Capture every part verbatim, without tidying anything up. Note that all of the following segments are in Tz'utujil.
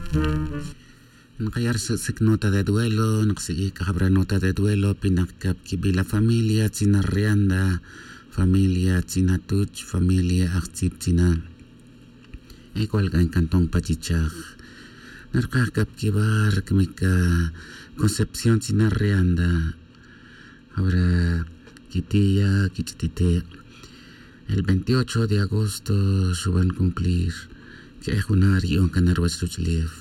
Nkaya' rsic'sic nota de duelo, nksiq'uij c'a jabra nota de duelo pinak cap quibi la familia tzina rianda, familia tzina tuch, familia ajtzib tzina. Igual c'a ncanton pa chichaj. Narkaj cap quibar cmic concepción tzina rianda. Jabra quitiya' quich'itite'. El veintiocho de agosto xuban cumplir que'ej juna' ri yu'on can ruwech ruch'ulef.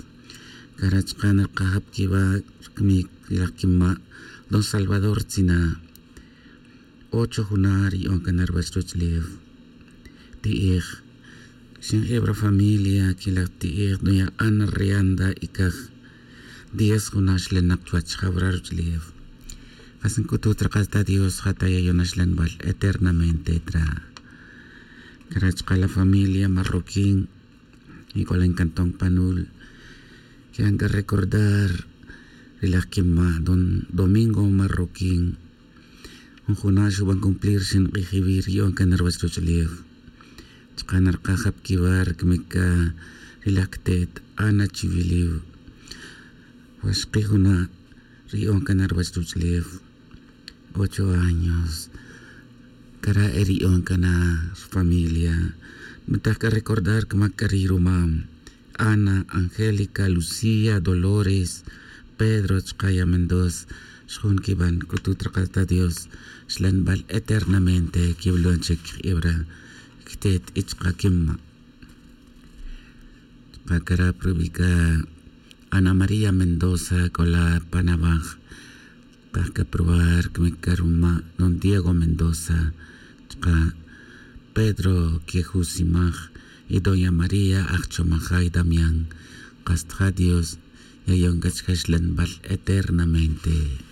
Cara' chaka' narkajab quiwa' rcmic ri laj quima' don salvador tzina'. Ocho juna' ri yu'on can ruwech ruch'ulef. Ti'ej. Xinje'eb ra familia quilaj ti'ej doña ana rianda y caj. Diez juna' xlenak chuwech jabra ruch'ulef. Kas nc'utut rak'al ta dios ja ta yayon axlanbal eternamente tra. Cara' chaka' la familia marroquín. Igual ncanton panul. Que'an c'a recordar ri laj quima' don domingo marroquín. Jun juna' xuban cumplir ri xink'ij iwi' ri yu'on can ruwech ruch'ulef. Chaka' narkajab quiwa' rcmic ri laj cte't ana chiwiliw. Waxki juna' ri yu'on can ruwech ruch'ulef. Ocho años. Cara' e ri yu'on can rfamilia. Nbetaj c'a recordar cmac c'a ri rumam. Ana, angélica, lucía, dolores, pedro chaka' ya mendoza. Xjun quiban c'utut rak'al ta dios. Xlanbal eternamente quiwilon chic kibra cte't y chaka' quima'. Chaka' cara' prubi' c'a ana maría mendoza c'o la pan awaj. Kaj c'a prubar cmic c'a ruma' don diego mendoza. Chaka' pedro quejusimaj y doña maría ajchomajay damián. Kas ta ja dios yayon c'a chaka' xlanbal eternamente.